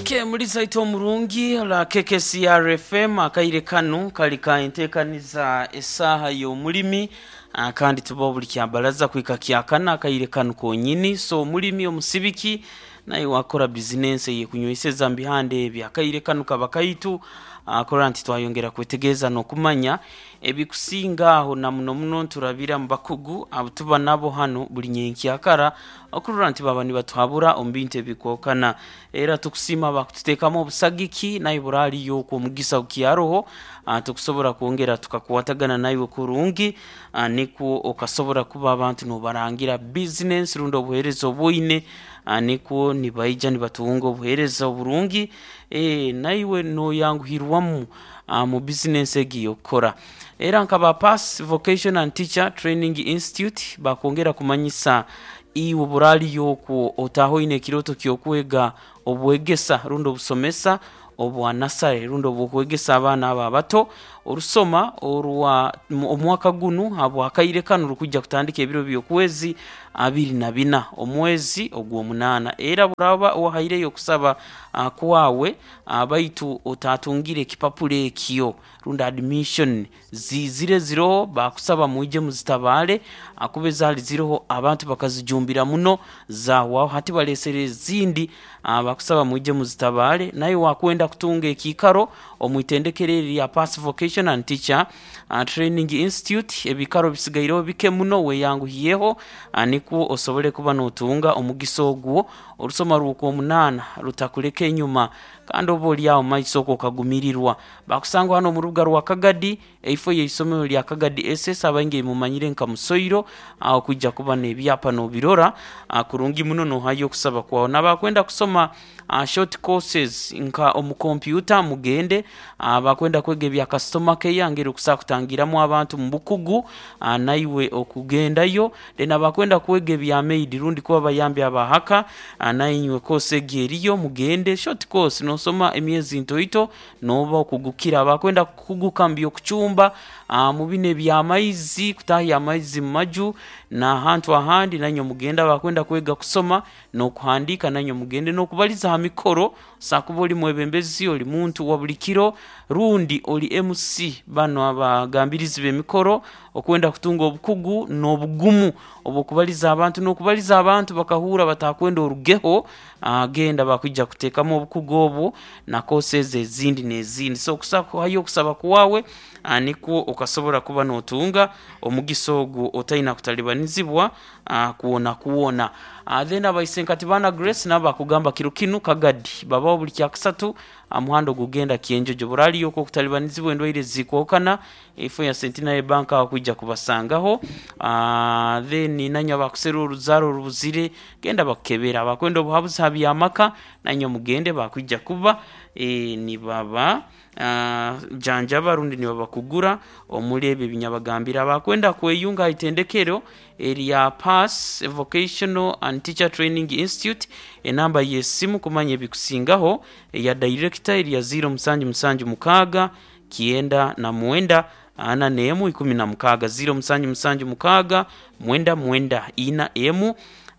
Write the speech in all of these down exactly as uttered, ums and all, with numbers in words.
Okay, muliza ito omurungi la K K C R F M. Akaire kanu kali ka enteekaniza Essaaha y'Omulimi, ah, kandi tuba buli kyabalaza kwika kyakana akaire kanu konyini. So omulimi omusibiki naye wakora bizinensi eyekunyweseza mubihanda ebi, akaire kanu kaba kaitu akora nti twayongera kwetegereza n'okumanya ebikusinga aho, na muno muno nturabira mu bakugu abo tuba nabo hano buli nyenkyakara okurora nti baba nibatuhabura omu bintu ebikwokana. Era tukusiima bakututeekamu obusagiki, naye buraliyo okwo omugisa gukyaroho, ah, tukusobora kwongera tukakwatagana naiwe kurungi, ah, nikwo okasobora kuba abantu nobarangira bizinensi rundi obuheereza obwoine, ah, nikwo nibaija nibatunga obuheereza oburungi, eh, naiwe noyanguhirwamu ah, mu bizinensi egi eyokukora. Era nkaba Pass Vocation and Teacher Training Institute bakwongera kumanyisa iwe buraliyo okwo otaaha oine ekiroto ky'okwega obwegesa rundi obusomesa obwa nasare rundi obwokwegesa abaana abo abato. Orusoma orwa omwaka gunu habwakaire kanu rukujja kutandika ebiro by'okwezi abiri na bina omwezi ogw'omunaana. Era buraba wahaireyo okusaba ah, kwawe, ah, baitu otatungire ekipapura ekyo rundi admission zizire ziroho, bakusaba mwije muzitabaale akuba ezaali ziroho abantu bakazijumbira muno zahwaho. Hati balesere ezindi, ah, bakusaba mwije muzitabaale. Naye wakwenda kutunga ekiikaro omwitendekero eri lya Pass Vocation and Teacher uh, Training Institute, ebikaro bisigaireho bike muno. Weyanguhiyeho, uh, nikwo osobole kuba notunga omugisa ogwo. Orusoma rw'okwomunaana rutakuleka enyuma, kandi oba oli awo maiso okwo okagumirirwa. Bakusanga hano omu rubuga rwa Kagadi, eifo y'eisomero lya Kagadi S S, abaingi mumanyire nka Musoiro aho, kwijja kuba n'ebyapa nobirora ah, kurungi muno nohayo okusaba kwawe. Nabakwenda kusoma uh, short courses nka omu kompyuta mugende, uh, bakwenda kwega ebya customer care, ngeri okusobola kutangiramu abantu mu bukugu, uh, naiwe okugendayo. Then abakwenda kwega ebya maid rundi kuba bayambi abahaka, uh, nainywe course egi eriyo, mugende. Short course nosoma emyezi ntoito noba okugukira. Abakwenda kukuguka mu by'okucumba, uh, mu bino ebyamaizi, kutahya amaizi mu maju n'ahantu ahandi, nanywe mugende. Abakwenda kwega kusoma n'okuhandiika, nanywe mugende, n'okubaliza ha mikoro, sakuba oli mwebembezi, oli muntu wa buli kiro rundi oli M C, bano abagambirizi b'emikoro, okwenda kutunga obukugu n'obugumu obw'okubaliza abantu n'okubaliza abantu bakahurra batakwenda orugeho, ah, genda bakwija kuteekamu obukugu obwo na courses ezindi n'ezindi. So okuhayo okusaba kwawe, ah, nikwo okasobora kuba notunga omugisa ogwo otaina kutalibanizibwa ah, kwona kwona. ah, then abaisenkati bana Grace nabo bakugamba kiro kinu Kagadi babaho buli kyakusatu muhanda ogugenda Kyenjojo. Buraliyo okwo okutalibanizibwa endwaire zikwokana, efo ya Centenary Bank aho kwija kubasangaho. uh, then nanywe abakusera oruzaro orubuzire, genda bakukebera. Abakwenda obuhabuzi ha byamaka, nanywe mugende, bakwija kuba e, nibaba uh, janjaba rundi nibabakugura omuli ebyo ebinyabagambira. Abakwenda kweyunga ha itendekero erya Pass Vocational and Teacher Training Institute, enamba y'esimu kumanya ebikusingaho eya director erya zero musanju musanju mukaaga kyenda na mwenda ana n'emu ikumi na mukaaga, zero musanju musanju mukaaga mwenda mwenda ina emu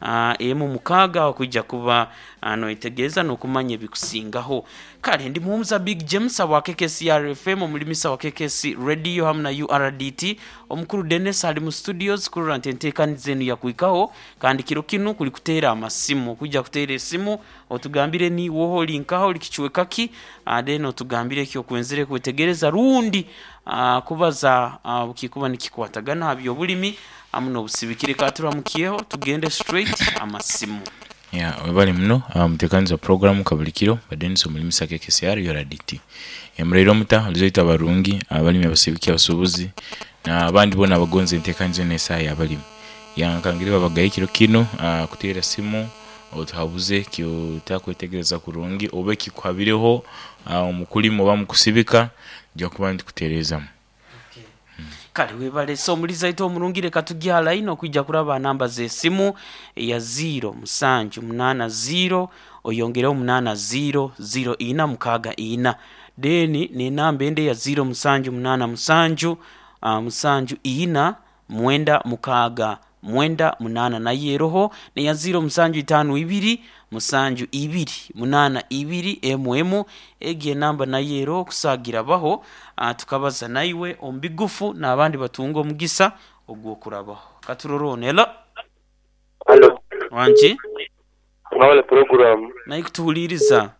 uh, emu mukaaga, aho kwijja kuba uh, noyetegereza n'okumanya ebikusingaho. Kale ndi muhumuza Big James wa K K C R F M, omulimisa wa K K C Radio hamu na U R D T. Omukuru Dennis ali mu studios kurora nti enteekaniza enu yakwikaho. Kandi kiro kinu kuli kuteera amasimu, okwijja kuteera esimu otugambire niiwe oli nkaho, oli kicweka ki, uh, then otugambire ekyokwenzere kwetegereza rundi uh, kubaza uh, kikuba nikikwatagana ha byobulimi hamu n'obusibikire. Katuramukiyeho, tugende straight amasimu. Ya, webale muno mutekaniza program kabulikiro Badenis omulimisa K K C R U R D T. Emuraire omuta olizoita abarungi, abalimi, abasibiki, abasuubuzi n'abandi boona abagonza enteekaniza enu Esaaha y'Abalimi. Yankangire babagaye kiro kinu kuteera simu otuhabuze kyotakwetegereza kurungi oba ekikuhabireho omu kulima oba mukusibika, nija kuba nitukutereezamu. Kale webale. So omuliza itu omurungi, leka tujja line okwijja kuraba namba z'esimu eya zero musanju munaana zero oyongereho munaana zero zero ina mukaaga ina, then n'enamba endi eya zero musanju munaana musanju uh, musanju ina mwenda mukaaga. mwenda munana nayo eroho neya ziro musanju itano ibiri musanju ibiri munana ibiri emu emu egi enamba nayo eroho kusagira baho uh, tukabaza naiwe omu bigufu n'abandi batunga omugisa ogw'okurabaho katurorone. Hello. Halo. Wangi. Mwawale program. Naye kutuhuliriza.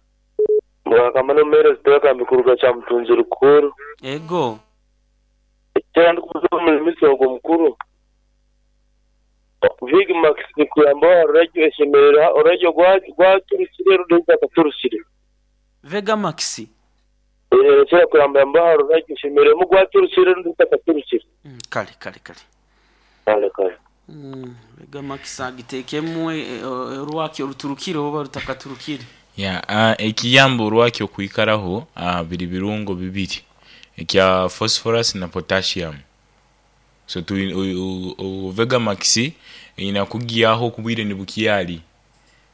Mwakamano mere zitaka mikuruga cha mtunzi rukuru. Ego. Kera ndikubuza omulimisi ogwo mukuru. Big Max nikuyamba radio eshemerera oradio gwa gwaturusire rudeza katurusire. Vega Max. Eh kera kuyamba mba radio eshemerera mu gwaturusire rudeza katurusire. Mm, kale kale kale. Kale kale. Mm, Vega Max agitekemu orwaki oruturukire oba rutakaturukire. Ya, uh, ekiyamba orwaki okwikaraho uh, biri birungo bibiri ekya phosphorus na potassium. So tu u, u, u, Vega Max inakugiyaho kubwire nibukiyali.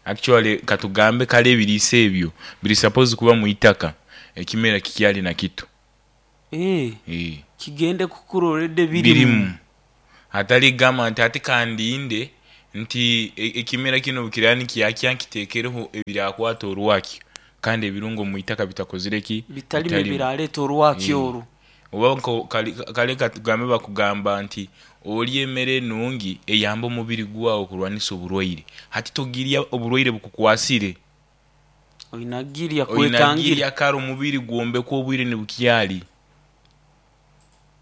Actually katugambe kale ebiriisa ebyo biri suppose kuba mu itaka ekimera kikyali na kitu. Eh. Eh. Kigende kukurorede birimu. Birimu. Hatali gama nti ate kandinde nti ekimera kino bukirani kiyakya nkitekereho ebirakwata orwaki kandi ebirungo mu itaka bitakozire ki bitali bibiraleta orwaki oru. Oba kale katugambe bakugamba nti oli emmere nungi eyamba omubiri gwawo okulwanisa oburwaire. Hati togirya oburwaire bukukwasire. Oyinagirya kwetangira. Oyinagirya kare omubiri gwombekwa obwire nibukyali.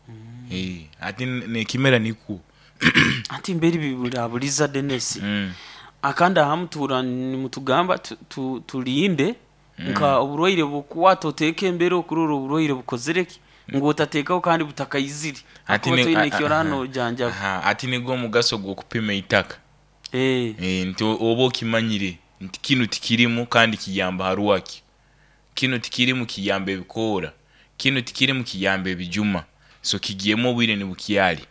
Mm. Eh, ati nekimera nikwo. Ati mberi bibulabuliza Dennis. Mm. Akanda hamutura nimutugamba tulinde mm. nka oburwaire bukwata oteke embere okurora oburwaire bukozereki ngo otatekaho kandi butakayizire. Ati ne kiorano janja. Aha, ati nigo omugaso gw'okupima itaka. Eh. Eh, nti oba okimanyire nti kino tikirimu kandi kiyamba haruwaki. Kino tikirimu kiyamba ebikoora. Kino tikirimu kiyamba ebijuma. So kigiyemu obwire nibukyali.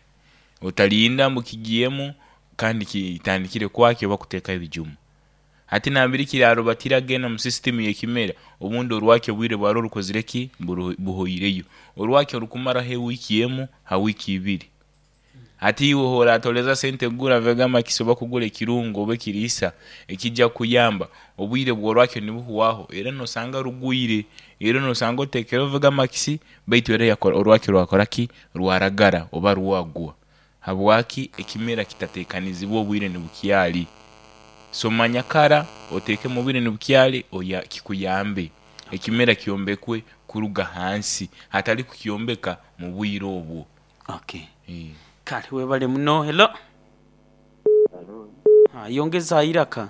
Otalinda mbu kigiyemu kandi kitandikire kwaki oba kuteeka ebijuma. Ati nambiri kiraro batiragenda mu system y'ekimera obundi orwaki obwire bwaro rukozire ki buhoireyo. Orwaki orukumara he wiki emu ha wiki ibiri. Ati iwe hora atoleza sente gura Vega Max oba kugura ekirungo oba ekiriisa ekijja kuyamba obwire bw'orwaki nibuhuwaho era nosanga rugwire era nosanga otekera Vega Max baitu era yakora orwaki rwakora ki rwaragara oba rwagwa. Habwaki ekimera kitatekanizibwa obwire nibukyali. So manyakara oteke mubire nibukyali oya kikuyambe ekimera kyombekwe kuruga hansi hatali kukyombeka mu bwire obwo. Okay. E. Kale webale muno. Hello. Hello. Ha, yongeza iraka.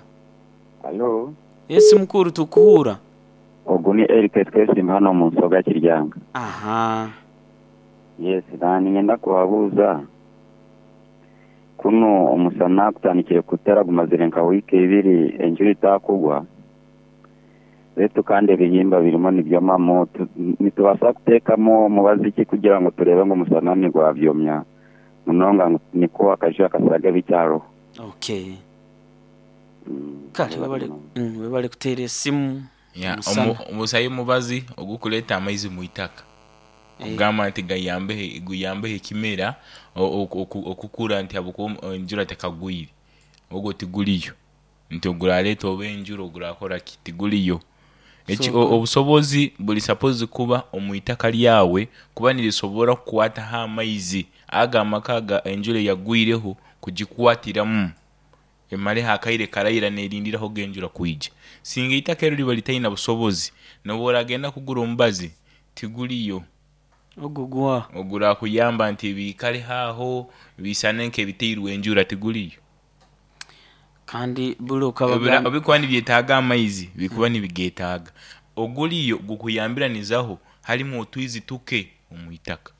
Hello. Yes mukuru tukuhura. Ogu ni Eric Twesimba hano mu nsoga Kiryanga. Aha. Yes, nani ngenda kubabuuza. Kuno omusana kutandikire kutera gumazire nka wiki ibiri enjura itakugwa. Betu kandi ebihimba birimo nibyomamo nitubasa kuteekamo omubazi ki kugira ngo turebe ngo omusana nigwabyomya munonga niko akaju akasaga bicyaro. Okay. Mm, Kale webale mm, webale kuteera esimu. Ya, omusayi mubazi ogukuleta amaizi mu itaka. Kugamba nti gayambe guyambe ekimera okukura nti abuko enjura tekagwire ogwo tiguliyo nti oguraleta oba enjura ogurakora kitiguliyo. Eki obusobozi buli suppose kuba omu itaka lyawe kuba nirisobora kukwata ha amaizi aga amaka enjura yagwireho kugikwatiramu emale hakaire karaira nerindiraho genjura kwija. Singa itaka ero liba litaina busobozi nobo oragenda kugura omubazi tiguliyo. Ogugwa ogura kuyamba nti bikale haho bisane nke biteirwe enjura tiguliyo. Kandi bulo kabaga obikuba nibyetaaga amaizi bikuba nibigetaaga oguliyo gukuyambiranizaho halimu otwizi tuke omu itaka.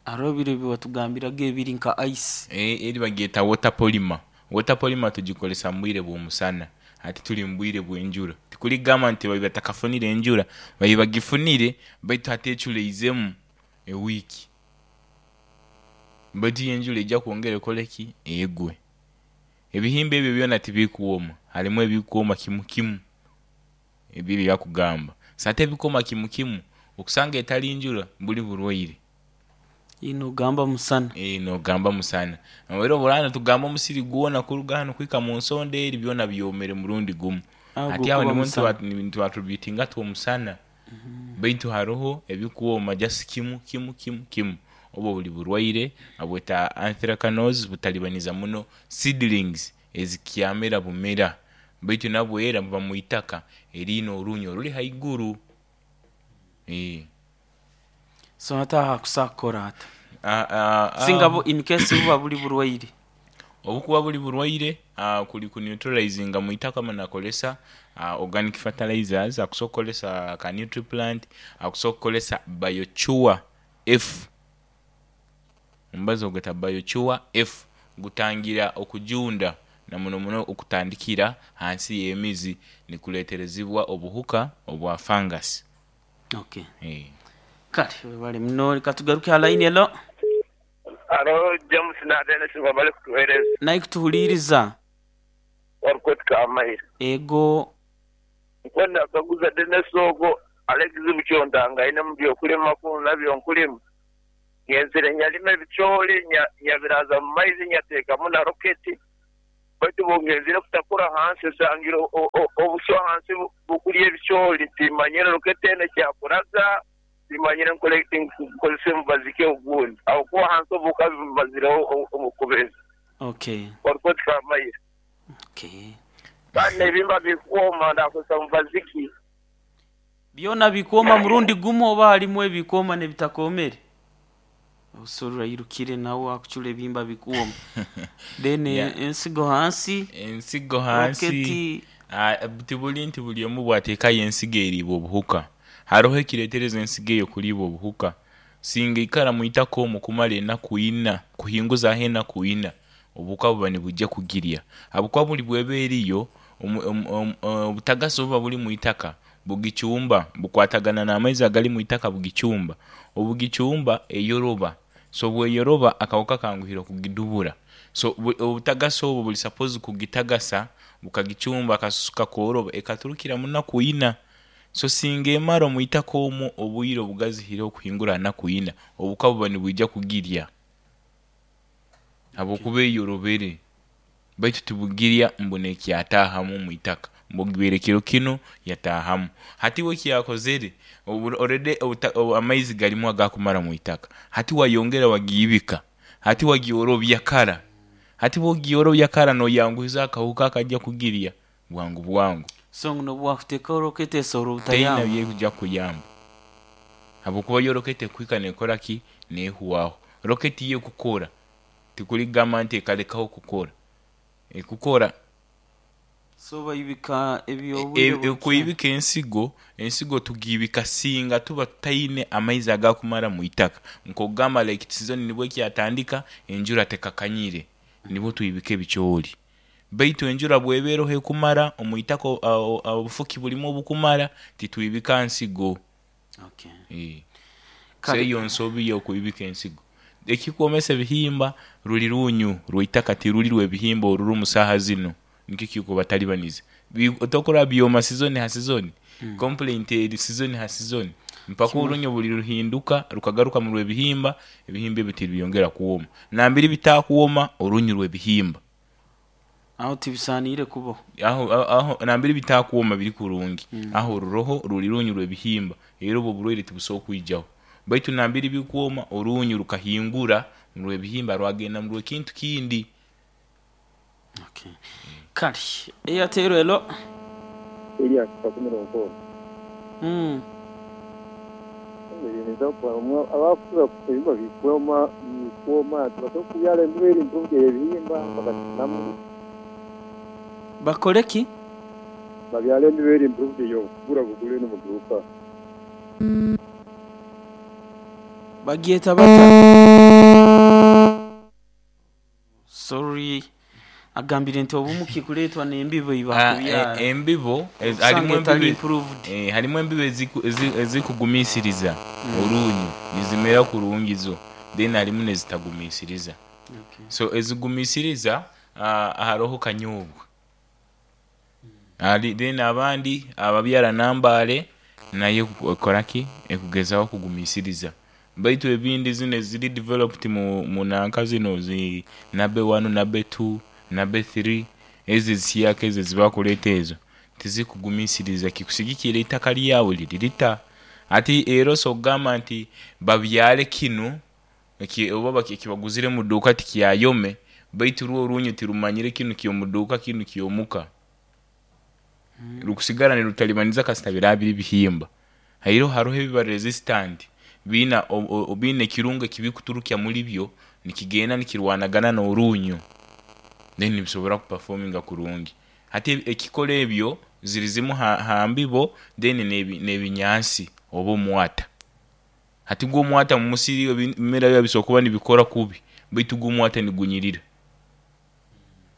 Arobire biwatugambiraga ebiri nka ice. Eh, eri bageta water polymer. Water polymer tugikolesa mbwire bw'omusana ati tuli mbwire bw'enjura. Tikuligamba nti babatakafunire enjura bayibagifunire baitu hatechuleizemu ewiki. Baitu enjura ejja kwongera ekoleki egwe. Ebihimba ebyo byona tibikuwoma, halimu ebikuwoma kimu kimu ebyo byakugamba. Sate ebikoma kimu kimu okusanga etali njura buli burwaire. Inogamba musana. Eh, nogamba musana era obulana tugamba omusiri gwona kuruga hano kuhika mu nsonda eri byona byomere murundi gumu. Aho Hati aho gukuba nimwo musana. nitwatrubutinga tu omusana, baitu haroho ebikuwoma just kimu kimu kimu kimu. Obo buli burwaire abweta anthracnose butalibaniza muno seedlings ezikyamera bumera, baitu nabwo era buba mu itaka eriine orunyo oruli haiguru. Eh. So hata hakusakora ata Ah, ah, ah. singa bu in case buba buli burwaire. Obukuba buli burwaire, uh, kuli kuneutralizinga mu itaka manakolesa uh, organic fertilizers, akusobola okukolesa ka nutriplant, akusobola okukolesa biochua F, omubazi ogweta biochua F gutangira okujunda na muno muno okutandikira hansi y'emizi nikuleterezibwa obuhuka obwa fungus. Okay. Eh. Kale webale muno, leka tugaruke ha line. Elo. Alo James na Dennis babale kutuhereza. Naye kutuhuliriza. Warukwetika amaire. Ego. Nkwenda kaguza Dennis ogo Alex Bukyondanga aine mu byokulima ku nabyo nkulima. Ngenzire nyalima ebicooli nya- nyabiraza mu maizi nyateekamu na roketi, baitu bungenzire kutakura hansi nsangire o- o- obuswa hansi bu- bukurya ebicooli, timanyire roketi eno kyakuraga, timanyire nkole nkozese mubazi ki ogundi aho hansi obuka bumazireho omukubezi. Okay. Warukwetika amaire. Okay. Kandi n'ebimba bikuwoma ndakozesa mubazi ki? Byona bikuoma murundi gumu oba halimu ebikuoma nebitakomere? Obusobola irukire nawe akucura ebihimba bikuoma then Yeah. ensigo hansi. Ensigo hansi. Roketi. Ah, tibuli nti buli omu bwateekayo ensigo eriibwa obuhuka, haroho ekireetereza ensigo eyo kuliibwa obuhuka. Singa ikara mu itaka omwo kumara enaku ina, kuhinguzaho enaku ina, obuhuka buba nibujja kugirya habwokuba buli bweba eriyo omu- omu- omu- obutagasi obuba buli mu itaka bugicumba, bukwatagana n'amaizi agali mu itaka, bugicumba, obugicumba eyoroba. So bweyoroba akahuka kanguhire okugidubura. So bu- obutagasi obwo buli suppose kugitagasa bukagicumba akasusu kakoroba ekaturukira munaku ina. So singa emara omu itaka omwo obwire obugazihire okuhingura naku ina, obuka buba nibwija kugirya habwokuba eyorobere, baitu tibugirya mbu nekyataahamu omu itaka mbu kiro kinu yataahamu. Hati we ekyakozere obu- already obuta- obu- amaizi galimu agakumara mu itaka, hati wayongera wagiibika, hati wagiorobya kara, hati bwogiorobya kara noyanguhiza akahuka akajja kugirya bwangu bwangu. So nobwakuteekaho roketi esobola Teina obutayamba? byekujja kuyamba habwokuba yo roketi ekuhika nekora ki nehuwaho. Roketi yo ekukora tikuligamba nti ekalekaho kukora, ekukora. So bayibika E- ebyobwire. e- Kuibika ensigo, ensigo tugiibika singa tuba tutaine amaizi agakumara mu itaka, nkogamba like season nibwo ekyatandika, enjura tekakanyire, nibwo tuibika ebicooli. Baitu enjura bweba eroho ekumara omu itaka, o- o- obufuki bulimu obukumara, titwibika nsigo. Okay. Eh. So Kale. eyo nsobi y'okuibika ensigo. Ekikwomesa ebihimba ruli runyu rw'itaka, tiruli rw'ebihimba oruri mu saaha zino, nikyo kikubatalibaniza. Bi- tokora byoma season ha season, complaint eri season ha season mpaka orunyo buli ruhinduka rukagaruka mu rw'ebihimba, ebihimba ebyo tiribyongera kuwoma nambiri bitakuwoma orunyu rw'ebihimba. Aho tibisaaniire kubaho. Aho aho aho nambiri bitakuwoma biri kurungi, aho oruroho ruli runyu rw'ebihimba, era obwo oburwaire tibusobola kwijaho. Baitu nambiri bikuwoma orunyu rukahingura mu rw'ebihimba rwagenda mu rw'ekintu kindi. Okay. Kale Airtel, elo. Elias Kakumiro Nkono. Mm. Abakuza ebihimba bikuoma bikuoma tubasobola kubyala embibo eri improved ebihimba bakakinamu. Bakole ki? Babyala embibo eri improved eyo kugura bugule no muduuka. Bagyeta bata? Sorry, agambire nti obumu kikuleetwa n'embibo Ah, ibakubyala eh, embibo ez- osanga harimu etali embibo improved. eh, harimu embibo eziku- ezi- ezikugumisiriza orunyu nizimera kurungi zo, then harimu nezitagumisiriza. Okay. So ezigumisiriza, ah, haroho kanyobwa. Ali then abandi ababyara nambale nayo ekoraki ekugezaho kugumisiriza. Baitu ebindi zino eziri developed mu, mu nanka zino zi nabe one, nabe two, nabe three, ezo ezisiyaka ezo ezibakuleeta ezo tizikugumisiriza kikusigikira eitaka lyawe liri lita. Ati era osobola kugamba nti babyale kinu eki oba ekibaguzire omu duuka tikyayome, baitu rwo orunyu tirumanyire kinu ky'omu duuka kinu ky'omuka. Rukusigara nirutalibaniza kasita biraba biri bihimba. Haroho haroho ebiba resistant, biina biina ekirungo ekibikuturukya muli byo nikigenda nikirwanagana n'orunyu, then nibisobora kupafominga kurungi. Hati ekikora ebyo ziri zimu ha ha mbibo then n'ebi n'ebinyansi oba omwata. Hati gwo omwata mu musiri ebimera biba bisobora kuba nibikora kubi baitu gwo omwata nigunyirira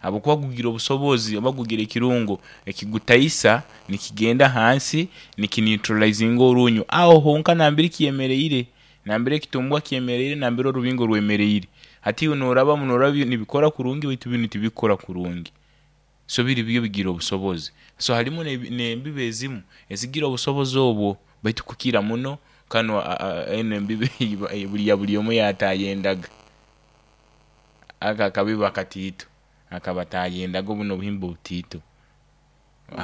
habwokuba gugira obusobozi oba gugira ekirungo ekigutaisa nikigenda hansi nikineutralizinga orunyu aho honka nambere kyemeriire, nambere ekitumbwa kyemeriire, nambere orubingo rwemeriire. Hati iwe norabamu norora nibikora kurungi baitu binu tibikukora kurungi. So biri byo bigira obusobozi. So harimu n'embibo ezimu ezigira obusobozi obwo baitu kukira muno kanu enu embibo ya buli omu eyatayendaga. Ako akabibo akatiito akabatayendaga bunu obuhimba obutiito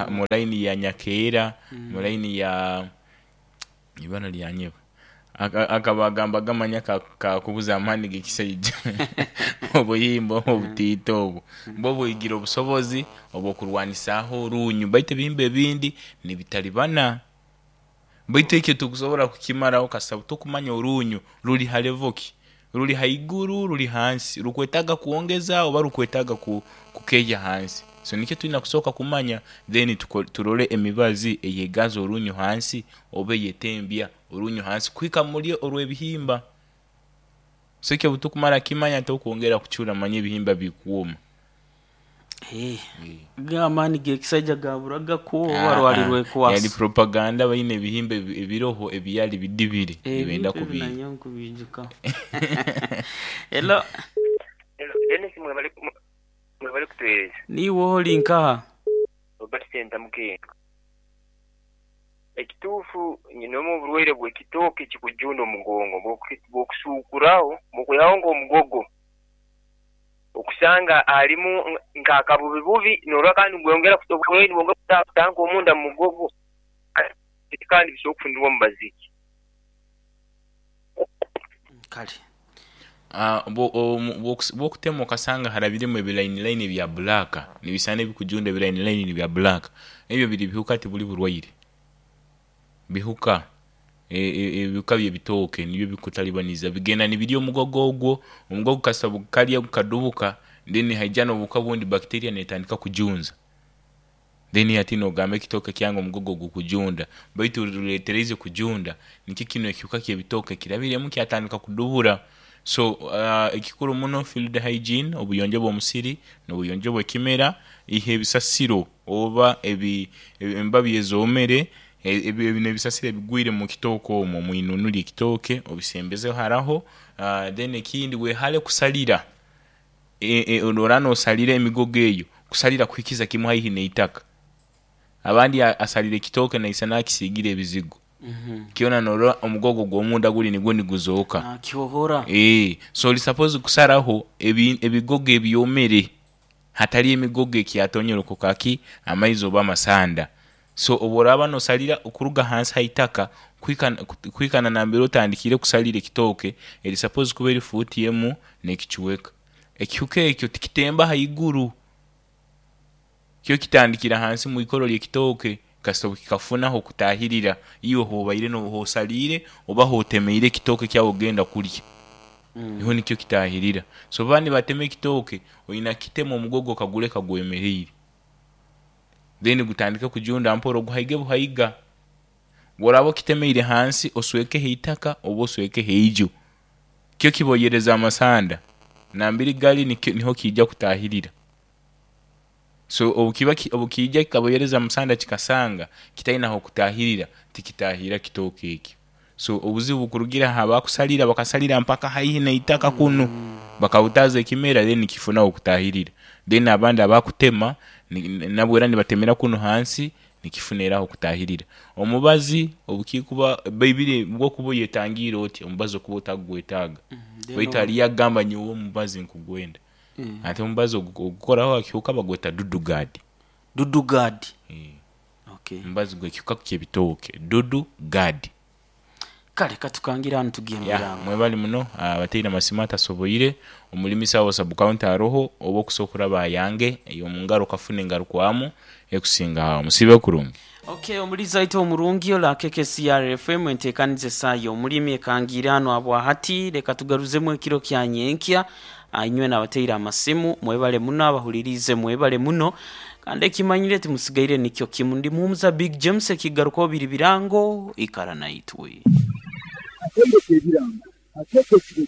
mu line ya nyakeera, mu line ya ibara lyanyebwa, aka bagambaga manya kakubuza amaani g'ekisaija obuhimba obu obutiito obu bwo bwigira obusobozi obw'okurwanisaaho orunyu baitu ebihimba ebindi nibitalibana. Baitu ekyo tokusobora kukimaraho kasita tokumanya orunyu ruri ha level ki, ruri haiguru, ruri hansi, rukwetaaga kwongeza oba rukwetaaga kukehya hansi. So nikyo twina kusooka kumanya then turole emibazi eyegaza orunyu hansi oba eyetembya orunyu hansi kuhika muli orw'ebihimba. So eki obu tukumara kukimanya tokwongera kucura manya ebihimba bikwoma. Amaani g'ekisaija gaburaga kwo oba rwali rwekwasa? Yali propaganda baine ebihimba ebiroho ebyali bidibire nibenda Ebintu ebi kubiiba. nanyowe nkubiijukaho. Hello. Dennis, mwebale mwebale kutuheereza. Niiwe oli nkaha? Robert Sentamu Ken. Ekituufu nyinemu oburwaire bw'ekitooke kikujunda omugongo, bw'okusuukuraho bw'okwihaho nk'omugogo okusanga harimu nk'akabubi bubi norora kandi nigweyongera oburwaire nibwongera kutaaha omunda mu mugogo kandi bisobora kufunirwa omubazi ki? Kale. Bwokutema okasanga harabiremu ebilayini layini ebya black, nibisana ebikujunda ebilayini layini ebya black, ebyo biri bihuka tibuli burwaire. Bihuka, ebihuka by'ebitooke nibyo bikutalibaniza bigenda nibirya omugogo ogwo, omugogo kasita gukalya gukadubuka then haija n'obuhuka obundi bacteria netandika kujunza. Then hati nogamba ekitooke kyange omugogo gukujunda baitu ruleeteriize kujunda nikyo kinu ekihuka ky'ebitooke kirabiremu kyatandika kudubura. So ekikuru muno field hygiene, obuyonjo bw'omusiri n'obuyonjo bw'ekimera, iha ebisasiro oba embabi ezoomere, binu ebisasiro ebigwire mu kitooke omwo omwinunu ly'ekitooke obisembeze haraho. Then ekindi wehare kusalira, obu oraba nosalira emigogo eyo, kusalira kuhikiza kimu haihi n'itaka. Abandi asalira ekitooke naisana akisiigire ebizigo, kyona norora omugogo ogw'omunda guli nigwo niguzooka. Nakihohora. So oli supposed kusaraho ebigogo ebyomere hatali emigogo ekyatonyere kaki amaizi oba amasanda. So obu oraaba nosalira kuruga hansi haitaka kuhika na nambere otandikiire kusalira ekitooke, eri supposed kuba eri fuuti emu n'ekicweka. Ekihuka ekyo tikitemba haiguru, kyo kitandikira hansi mwikoro ly'ekitooke kasita obu kikafuna ah'okutaahirira iwe h'obaire h'osaliire oba h'otemeire ekitooke kyawe okugenda kulya, niho nikyo kitaahirira. So obu baba nibatema ekitooke, oina kukitema omugogo okaguleka gwemeriire, then gutandike kujunda mpora oguhaige buhaiga. Obu oraaba okitemeire hansi oswekeho itaka oba oswekeho iju, kyo kiboyereza amasanda, nambere gali niho kiija kutaahirira. So obu kiba obu kiija kikaboyereza amasanda kikasanga kitaina h'okutaahirira, tikitaahirra kitooke ekyo. So obuzibu bukurugira h'abakusalira bakasalira mpaka haihi n'itaka kunu, bakahutaaza ekimera then nikifuna ah'okutaahirira. Then abandi abakutema nabwo era nibatemera kunu hansi. Nikifuniraho kutahirira omubazi obukikuba baibire bwokuba oyetangiire oti omubazi okuba otagwetaaga, baitu haliyo agamba nyowe omubazi nkugwenda. Ate omubazi ogu- ogukoraho akihuka bagweta dudu guard. Dudu guard. Eh, okay. Omubazi gwekihuka kyebitooke, dudu guard. Kale katukangira hanu tugende. Ya, mwebali muno abateire amasimu atasoboire omulimisa wa sub county aroho oba okusobola kuraba ayange ey'omungaro okafuna engarukwamu ekusinga awo. Musibe kurungi. Okay, omuliza waitu omurungi ola K K C R F M, enteekaniza esaayo omulimi ekangiire hano abwahati. Leka tugaruzemu ekiro kya nyenkya. Ah, inywe nabateire amasimu mwebale muno, abahuliriize mwebale muno, kandi ekimanyire timusigaire nikyo kimu. Ndi muhumuza Big James, ekigarukaho biri birango. Ikara naitwe. Akaire k'ebirango akeeka ekiro.